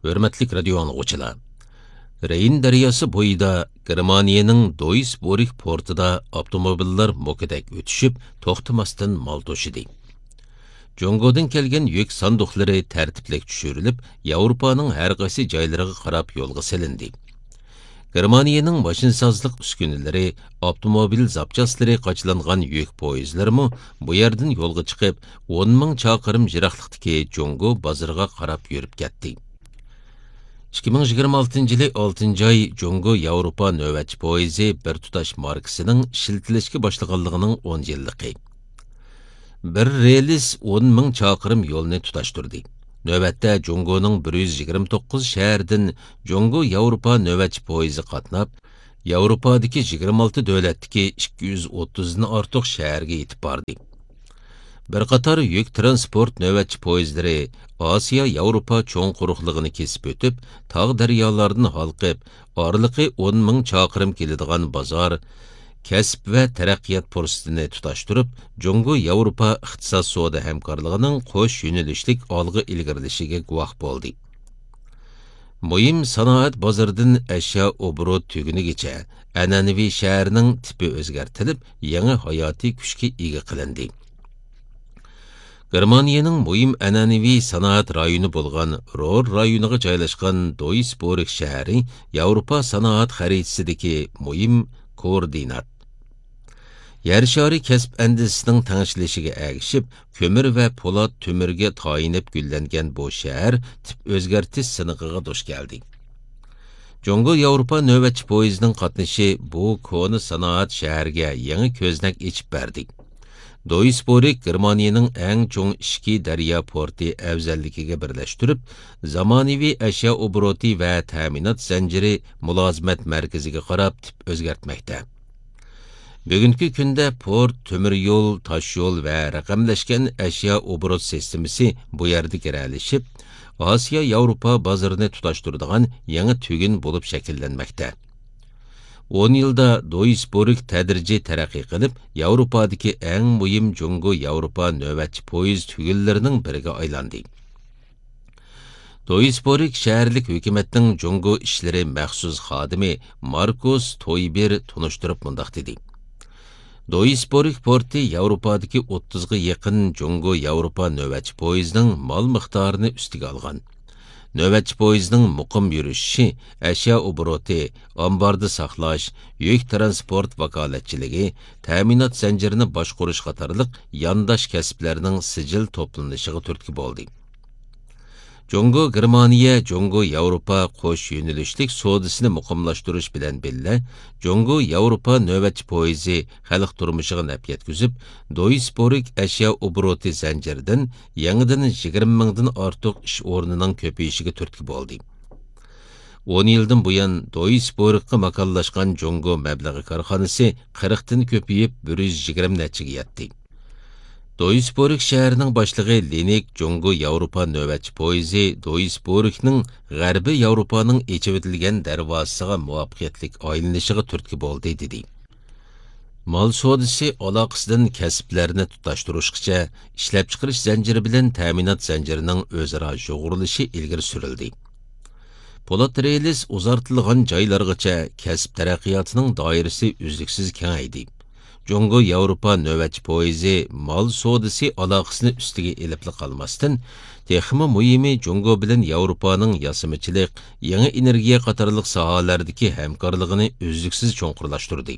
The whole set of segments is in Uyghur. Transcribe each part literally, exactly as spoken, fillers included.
ھۆرمەتلىك رادىيو ئاڭلىغۇچىلار! رېين دەرياسى بويىدا گېرمانىيەنىڭ دويسبورگ پورتىدا ئاپتوموبىللار موكىدەك ئۆتۈشۈپ، توختىماستىن مال توشىدى. جۇڭگودىن كەلگەن يۈك ساندۇقلىرى تەرتىپلىك چۈشۈرۈلۈپ، ياۋروپانىڭ ھەر قايسى جايلىرىغا قاراپ يولغا سېلىندى. گېرمانىيەنىڭ ماشىنىسازلىق ئۈسكۈنىلىرى، ئاپتوموبىل زاپچاسلىرى قاچىلانغان يۈك پويىزلىرىمۇ بۇ يەردىن يولغا چىقىپ، ئون مىڭ چاقىرىم يىراقلىقتىكى جۇڭگو بازىرىغا قاراپ يۈرۈپ كەتتى. ئىككى مىڭ يىگىرمە ئالتىنچى يىلى ئالتىنچى ئاي جۇڭگو ياۋروپا نۆۋەتچى پويىزى بىر تۇتاش ماركىسىنىڭ ئىشلىتىلىشكە باشلىغانلىقىنىڭ ئون يىللىقى. بىر رېلىس ئون مىڭ چاقىرىم يولنى تۇتاشتۇردى. نۆۋەتتە جۇڭگونىڭ بىر يۈز يىگىرمە توققۇز شەھىرىدىن جۇڭگو ياۋروپا نۆۋەتچى پويىزى قاتناپ، ياۋروپادىكى يىگىرمە ئالتە دۆلەتتىكى ئىككى يۈز ئوتتۇزدىن ئارتۇق شەھەرگە يېتىپ باردى. بىر قاتار يۈك تىرانسپورت نۆۋەتچى پويىزلىرى ئاسىيا ياۋروپا چوڭ قۇرۇقلۇقىنى كېسىپ ئۆتۈپ، تاغ دەريالاردىن ھالقىپ، ئارىلىقى ئون مىڭ چاقىرىم كېلىدىغان بازار، كەسىپ ۋە تەرەققىيات پۇرسىتىنى تۇتاشتۇرۇپ، جۇڭگو ياۋروپا ئىقتىساد سودا ھەمكارلىقىنىڭ قوش يۆنىلىشلىك ئالغا ئىلگىرىلىشىگە گۇۋاھ بولدى. مۇھىم سانائەت بازىرىدىن ئەشيا ئوبوروت تۈگۈنىگىچە ئەنئەنىۋى شەھەرنىڭ تىپى ئۆزگەرتىلىپ، يېڭى ھاياتىي كۈچكە ئىگە قىلىندى. گېرمانىيەنىڭ مۇھىم ئەنئەنىۋى سانائەت رايونى بولغان رور رايونىغا جايلاشقان دويسبورگ شەھىرى ياۋروپا سانائەت خەرىتىسىدىكى مۇھىم كوئوردىنات. يەر شارى كەسىپ ئەندىزىسىنىڭ تەڭشىلىشىگە ئەگىشىپ، كۆمۈر ۋە پولات تۆمۈرگە تايىنىپ گۈللەنگەن بۇ شەھەر تىپ ئۆزگەرتىش سىنىقىغا دۇچ كەلدى. جۇڭگو ياۋروپا نۆۋەتچى پويىزىنىڭ قاتنىشى بۇ كونا سانائەت شەھەرگە يېڭى كۆزنەك ئېچىپ بەردى. دويسبورگ گېرمانىيەنىڭ ئەڭ چوڭ ئىچكى دەريا پورتى ئەۋزەللىكىگە بىرلەشتۈرۈپ، زامانىۋى ئەشيا ئوبوروتى ۋە تەمىنات زەنجىرى مۇلازىمەت مەركىزىگە قاراپ تىپ ئۆزگەرتمەكتە. بۈگۈنكى كۈندە پورت، تۆمۈر يول، تاش يول ۋە رەقەملەشكەن ئەشيا ئوبوروت سىستېمىسى بۇ يەردە گىرەلىشىپ، ئاسىيا ياۋروپا بازىرىنى تۇتاشتۇرىدىغان يېڭى تۈگۈن بولۇپ شەكىللەنمەكتە. ئون يىلدا دويسبورگ تەدرىجىي تەرەققىي قىلىپ، ياۋروپادىكى ئەڭ مۇھىم جۇڭگو ياۋروپا نۆۋەتچى پويىز تۈگۈنلىرىنىڭ بىرىگە ئايلاندى. دويسبورگ شەھەرلىك ھۆكۈمەتنىڭ جۇڭگو ئىشلىرى مەخسۇس خادىمى ماركۇس تويبېر تونۇشتۇرۇپ مۇنداق دېدى: دويسبورگ پورتى ياۋروپادىكى ئوتتۇزغا يېقىن جۇڭگو ياۋروپا نۆۋەتچى پويىزىنىڭ مال مىقدارىنى ئۈستىگە ئالغان. نۆۋەتچى پويىزنىڭ مۇقىم يۈرۈشۈشى، ئەشيا ئوبوروتى، ئامباردا ساقلاش، يۈك تىرانسپورت ۋاكالەتچىلىكى، تەمىنات زەنجىرىنى باشقۇرۇش قاتارلىق يانداش كەسىپلەرنىڭ سىجىل توپلىنىشىغا تۈرتكە بولدى. جۇڭگو گېرمانىيە، جۇڭگو ياۋروپا قوش يۆنىلىشلىك سودىسىنى مۇقىملاشتۇرۇش بىلەن بىللە، جۇڭگو ياۋروپا نۆۋەتچى پويىزى خەلق تۇرمۇشىغا نەپ يەتكۈزۈپ، دويسبورگ ئەشيا ئوبوروتى زەنجىرىدىن يېڭىدىن يىگىرمە مىڭدىن ئارتۇق ئىش ئورنىنىڭ كۆپىيىشىگە تۈرتكە بولدى. ئون يىلدىن بۇيان، دويسبورگقا ماكانلاشقان جۇڭگو مەبلىغى كارخانىسى قىرىقتىن كۆپىيىپ، بىر يۈز يىگىرمە نەچچىگە يەتتى. دويسبورگ شەھىرىنىڭ باشلىقى لىنىك جۇڭگو ياۋروپا نۆۋەتچى پويىزى دويسبورگنىڭ غەربىي ياۋروپانىڭ ئېچىۋېتىلگەن دەرۋازىسىغا مۇۋەپپەقىيەتلىك ئايلىنىشىغا تۈرتكە بولدى، دېدى. مال سودىسى ئالاقىسىدىن كەسىپلەرنى تۇتاشتۇرۇشقىچە، ئىشلەپچىقىرىش زەنجىرى بىلەن تەمىنات زەنجىرىنىڭ ئۆزئارا يۇغۇرۇلۇشى ئىلگىرى سۈرۈلدى. پولات رېلىس ئۇزارتىلغان جايلارغىچە كەسىپ تەرەققىياتىنىڭ دائىرىسى ئۈزلۈكسىز كېڭەيدى. جۇڭگو ياۋروپا نۆۋەتچى پويىزى مال سودىسى ئالاقىسىنى ئۈستىگە ئېلىپلا قالماستىن، تېخىمۇ مۇھىمى، جۇڭگو بىلەن ياۋروپانىڭ ياسىمىچىلىق، يېڭى ئېنېرگىيە قاتارلىق ساھەلەردىكى ھەمكارلىقىنى ئۈزلۈكسىز چوڭقۇرلاشتۇردى.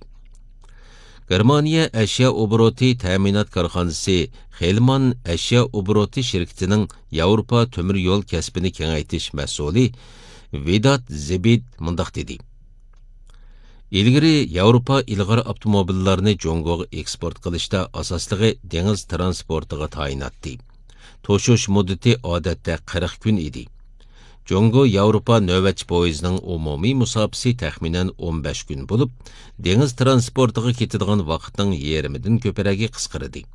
گېرمانىيە ئەشيا ئوبوروتى تەمىنات كارخانىسى خېلمان ئەشيا ئوبوروتى شىركىتىنىڭ ياۋروپا تۆمۈر يول كەسپىنى كېڭەيتىش مەسئۇلى ۋىدات زېبىت مۇنداق دېدى: ئىلگىرى ياۋروپا ئىلغار ئاپتوموبىللارنى جۇڭگوغا ئېكسپورت قىلىشتا ئاساسلىقى دېڭىز تىرانسپورتىغا تايىناتتى. توشۇش مۇددىتى ئادەتتە قىرىق كۈن ئىدى. جۇڭگو ياۋروپا نۆۋەتچى پويىزىنىڭ ئومۇمىي مۇساپىسى تەخمىنەن ئون بەش كۈن بولۇپ، دېڭىز تىرانسپورتىغا كېتىدىغان ۋاقىتنىڭ يېرىمىدىن كۆپرەكى قىسقىردى.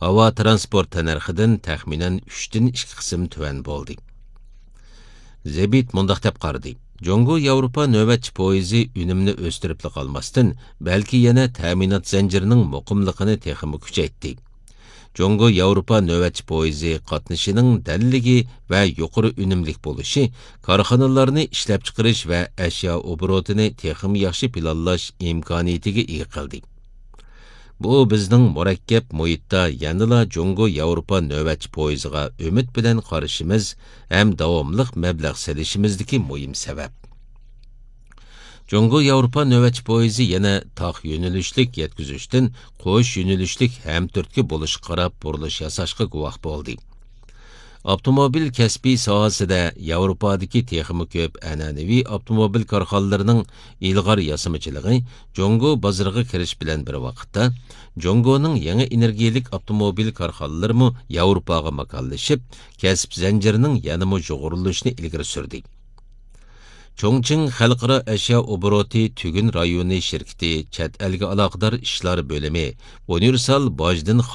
ھاۋا تىرانسپورت تەننەرخىدىن تەخمىنەن ئۈچتىن ئىككى قىسىم تۆۋەن بولدى. زېبىت مۇنداق دەپ قارىدى: جۇڭگو ياۋروپا نۆۋەتچى پويىزى ئۈنۈمنى ئۆستۈرۈپلا قالماستىن، بەلكى يەنە تەمىنات زەنجىرىنىڭ مۇقىملىقىنى تېخىمۇ كۈچەيتتى. جۇڭگو ياۋروپا نۆۋەتچى پويىزى قاتنىشىنىڭ دەللىكى ۋە يۇقىرى ئۈنۈملۈك بولۇشى كارخانىلارنى ئىشلەپچىقىرىش ۋە ئەشيا ئوبوروتىنى تېخىمۇ ياخشى پىلانلاش ئىمكانىيىتىگە ئىگە قىلدى. بۇ بىزنىڭ مۇرەككەپ مۇھىتتا يەنىلا جۇڭگو ياۋروپا نۆۋەتچى پويىزىغا ئۈمىد بىلەن قارىشىمىز ھەم داۋاملىق مەبلەغ سېلىشىمىزدىكى مۇھىم سەۋەب. جۇڭگو ياۋروپا نۆۋەتچى پويىزى يەنە تاق يۆنىلىشلىك يەتكۈزۈشتىن قوش يۆنىلىشلىك ھەمتۈرتكە بولۇشقا قاراپ بۇرۇلۇش ياساشقا گۇۋاھ بولدى. ئاپتوموبىل كەسپى ساھەسىدە ياۋروپادىكى تېخىمۇ كۆپ ئەنئەنىۋى ئاپتوموبىل كارخانىلىرىنىڭ ئىلغار ياسىمىچىلىقى جۇڭگو بازىرىغا كىرىش بىلەن بىر ۋاقىتتا، جۇڭگونىڭ يېڭى ئېنېرگىيەلىك ئاپتوموبىل كارخانىلىرىمۇ ياۋروپاغا ماكانلىشىپ، كەسىپ زەنجىرىنىڭ يەنىمۇ يۇغۇرۇلۇشىنى ئىلگىرى سۈردى. چۇڭچىڭ خەلقئارا ئەشيا ئوبوروتى تۈگۈن رايونى شىركىتى چەت ئەلگە ئالاقىدار ئىشلار بۆلۈمى ئۇنىۋېرسال باجدىن